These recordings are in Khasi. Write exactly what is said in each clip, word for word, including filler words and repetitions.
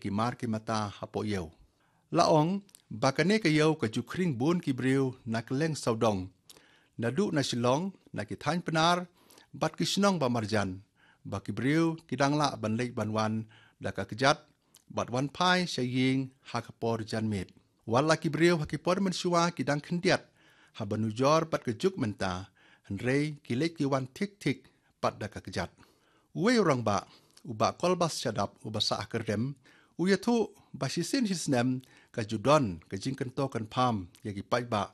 ki mar ki mata hapoh ïew. La ong ba kane ka ïew ka ju khring bun ki briew na kylleng sawdong, naduh na Shillong, na ki thaiñ Pnar bad ki shnong ba marjan, ba ki briew ki dang lah ban leit ban wan da ka kjat bad wan phai sha ïing ha ka por janmiet. Wat la ki briew ha ki por mynshuwa ki dang khyndiat haba nujor bad ka juk mynta, hynrei ki leit ki wan thik thik pat da ka kjat. Uwei u rangbah, u Bah Kolbas Shadap, uba sah ha Kyrdem, u ïathuh ba shisien shisnem ka ju don ka jingkynto kynpham ïa ki paidbah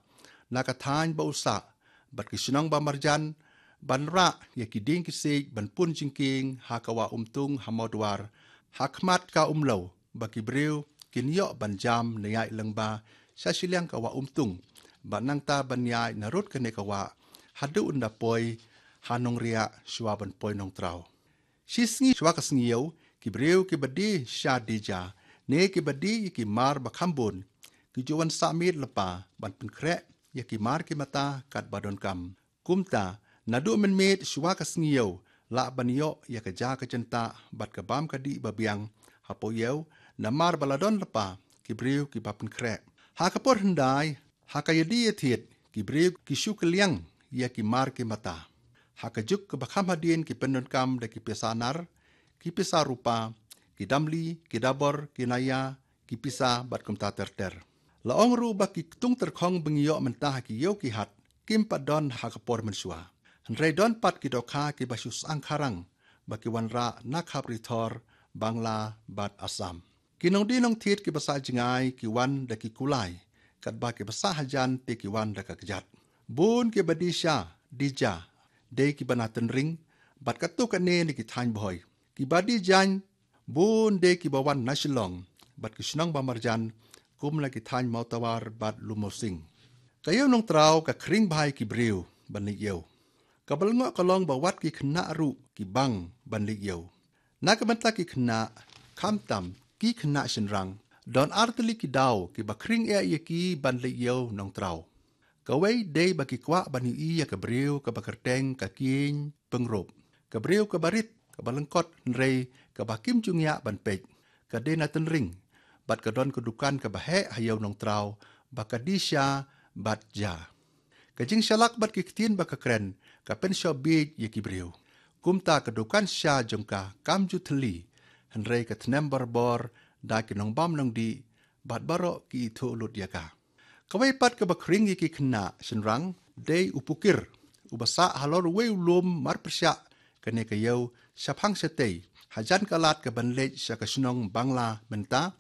na ka thaiñ ba u sah bad ki shnong ba marjan ban rah ïa ki dieng ki siej ban pun jingkieng ha ka Wah Umtung ha Mawdwar, ha khmat ka Umlew, ba ki briew kin ïoh ban jam na ïaid lyngba sha shiliang ka Wah Umtung bad nangta ban ïaid narud kane ka wah haduh ynda poi ha Nongriah shuwa ban poi Nongtraw. Shi sngi shuwa ka sngi ïew, ki briew kiba die sha die ja ne kiba die ïa ki mar ba kham bun, ki ju wan sah miet lypa ban pynkhreh ïa ki mar ki mata katba donkam. Kumta, naduh mynmiet shuwa ka sngi ïew lah ban ïoh ïa ka ja ka jyntah bad ka bam ka dih ba biang hapoh ïew, namar ba la don lypa ki briew kiba pynkhreh. Ha ka por hyndai, ha ka ïadie ïathied, ki briew ki shu kylliang ïa ki mar ki mata. Ha ka juk kaba kham hadien ki pyndonkam da ki pisa nar, ki pisa rupa, ki damli, ki dabor, ki naïa, ki pisa bad kumta ter ter. La ong ruh ba ki ktung tyrkhong ba ngi ïoh mynta ha ki ïew ki hat kim pat don ha ka por mynshuwa. Hynrei don pat ki dohkha kiba shu syang kharang ba ki wanrah na khap Ri Thor, Bangla bad Assam. Ki nongdie nongthied kiba sah jngai ki wan da ki kulai, katba kiba sah hajan te ki wan da ka kjat. Bun kiba die sha die ja dei kiba na Tynring bad katto katne na ki thaiñ Bhoi. Kiba die jaiñ bun dei kiba wan na Shillong bad ki shnong ba marjan, kum la ki thaiñ Mawtawar bad Lumosing. Ka ïew Nongtraw ka khring bha ïa ki briew ban leit ïew. Kaba lyngngoh ka long ba wat ki khynnah ruh ki bang ban leit ïew. Na ka bynta ki khynnah, khamtam ki khynnah shynrang, don ar tylli ki daw kiba khring eh ïa ki ban leit ïew Nongtraw. Kawei dei ba ki kwah ban ïohi ïa ka briew kaba kyrteng ka Kieñ Pyngrope. Ka briew kaba rit, kaba lyngkot hynrei kaba kim ju ngiah ban peit. Ka dei na Tynring bad ka don ka dukan kaba heh ha ïew Nongtraw ba ka die sha bad ja. Ka jingshalak bad ki ktien ba ka kren ka pynshoh bieit ïa ki briew. Kumta ka dukan sha jong ka kam ju thylli, hynrei ka thnem barabor da ki nongbam nongdih bad baroh ki ithuh lut ïa ka. Kawei pat kaba khring ïa ki khynnah shynrang dei u Pukir, uba sah halor uwei u lum marpyrshah kane ka ïew shaphang shatei, hajan ka lad kaban leit sha ka shnong Bangla mynta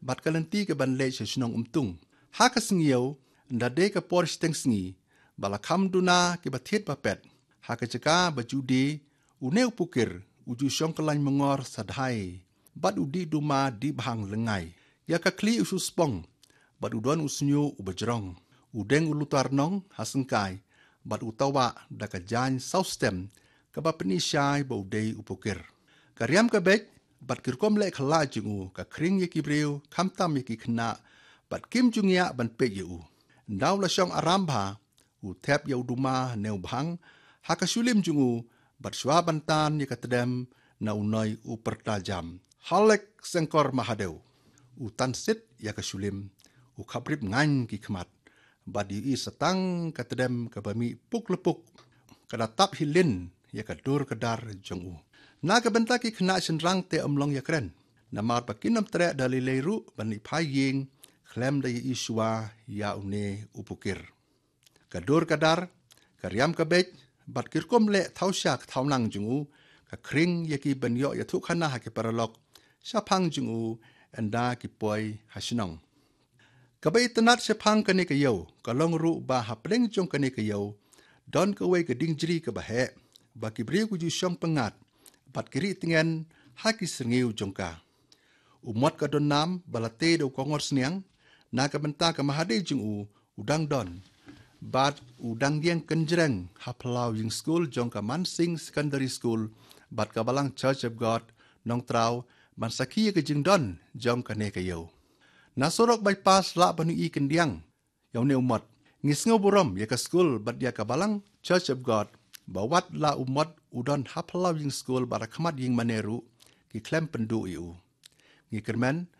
bad ka lynti kaban leit sha shnong Umtung. Ha ka sngi ïew, ynda dei ka por shiteng sngi, ba la kham duna kiba thied ba pet, ha ka jaka ba ju die, une u Pukir u ju shong kyllaiñ myngor sa dhai bad u dih duma dih bhang lyngngai. Ïa ka khlieh u shu spong bad u don u shñiuh uba jrong. U deng u lutar nong ha syngkai bad u tawah da ka jaiñ saw stem, kaba pyni shai ba u dei u Pukir. Ka riam ka beit bad ki rukom leh khlad jong u ka khring ïa ki briew, khamtam ïa ki khynnah, bad kim ju ngiah ban peit ïa u. Ynda u la shong aram bha, u thep ïa u duma ne u bhang ha ka shulim jong u bad shuwa ban tan ïa ka tdem na u noi u pyrta jam, "Halek Sengkor Mahadew." U tan sit ïa ka shulim, u khaprip ngaiñ ki khmat bad ïohi sa tang ka tdem kaba mih puk lepuk, ka da tap hi lin ïa ka dur ka dar jong u. Na ka bynta ki khynnah shynrang te ym long ïakren, namar ba kin ym treh da lei lei ruh ban leit phai ïing khlem da ïohi shuwa ïa une u Pukir. Ka dur ka dar, ka riam ka beit bad ki rukom leh thaw sha ka thaw nang jong u ka khring ïa ki ban ïoh ïathuh khana ha ki paralok shaphang jong u ynda ki poi ha shnong. Kaba itynnad shaphang kane ka ïew ka long ruh ba hapdeng jong kane ka ïew don kawei ka dieng jri kaba heh, ba ki briew ki ju shong pyngngad bad ki rieh tngen ha ki syrngiew jong ka. U Mot ka don nam ba la tei da u Kongor Sniang, na ka bynta ka Mahadei jong u, u dang don bad u dang ïeng kynjreng ha phyllaw ïing skul jong ka Mansingh Secondary School bad ka Balang Church of God Nongtraw ban sakhi ïa ka jingdon jong kane ka ïew. Na surok bypass lah ban ïohi kyndiang ïa une u Mot. Ngi sngewburom ïa ka skul bad ïa ka Balang Church of God ba wat la u Mot u don ha phyllaw ïing skul bad ha khmat ïing mane ruh ki khlem pynduh ïa u. Ngi kyrmen